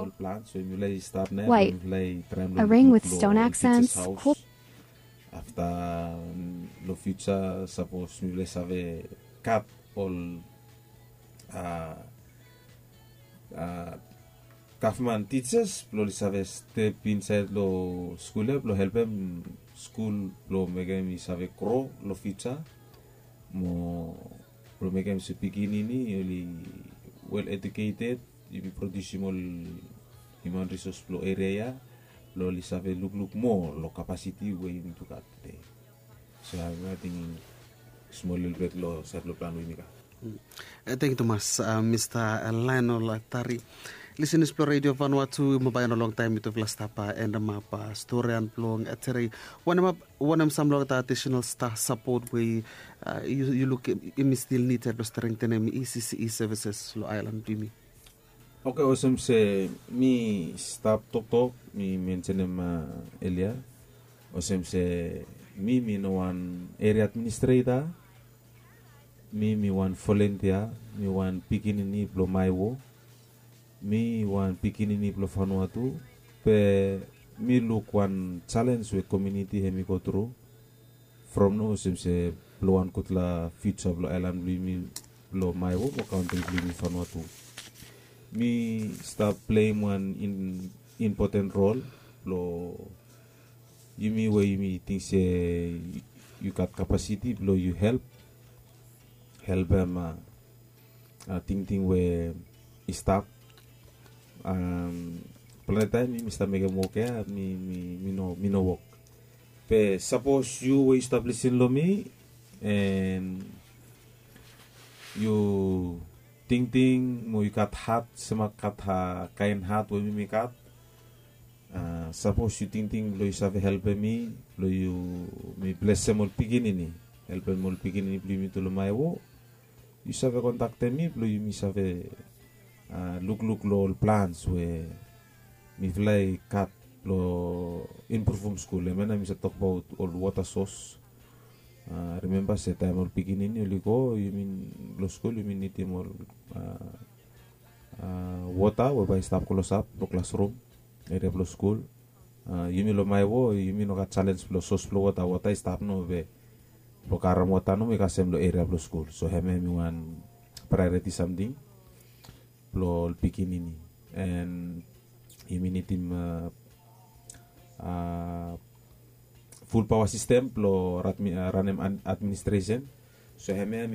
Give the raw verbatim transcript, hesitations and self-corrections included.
Ol plans we mifala i stap nao, mifala i traem long ring with stone accents. Afta, long fiuja, sapos mifala i save gat ol a a gavman tijas blong oli save step insaed long skul ya blong helpem skul blong mekem i save gro long fiuja. Mo blong mekem se pikinini oli wel eduketed, yumi produsim ol hiuman risos blong eria ya blong oli save lukluk moa long kapasiti we yumi tu gat tede. So ya mi ating smol lelebet long saed blong plan we yumi gat. Tangkiu tumas, mista Lionel Tari. Lisenas blong Redio Vanua tu, mo bae no longtaem mitufala stap endemap storian blong tedei. Wanem sam long olgeta adisenal sapot we yu luk yumi stil nid blong strengtenem E C C E services long aelan blong yumi? Oke, olsem se mi stap toktok mi mensenem elia, olsem se mi mi no wan eria administreta. Mi mi wan volontia, mi wan pikinini blong Maewo. Mi wan pikinini blong Vanuatu. Be mi luk wan jalens we komuniti hemi go tru from no olsem se blong wan gudfala fiuja blong aelan blong yumi blong Maewo mo kantri blong yumi Vanuatu. Mi stap pleim wan impoten rol blong yumi we yumi ting se yu gat kapasiti blong yu help helpem a tingting we i stap. Plante taem mi mi stap mekem wok ya mi mi mi no mi no wok. Be sapos yu we yu stap lisin long mi en yu tingting mo yu gat hat sema gat kaen hat we mi mi gat. Sapos yu tingting blong yu save helpem mi blong yu mi blesem ol pikinini, helpem ol pikinini blong yumi tu long Maewo, yu save kontaktem mi blong yumi save lukluk long ol plans we mifala i gat blong impruvum skul. Hemia nao mi save tokbaot ol wota sos. Rimemba se taem ol pikinini oli go yumi long skul yumi nidim ol wota we bae i stap klosap long klasrum, eria blong skul. Yumi long Maewo yumi no gat jalens blong sos blong wota, wota i stap no be blong karem wota nomo i kasem long eria blong skul. So hemia hemi wan praeoriti samting blong ol pikinini. En yumi nidim ful paoa sistem blong ranem administresen. So hemia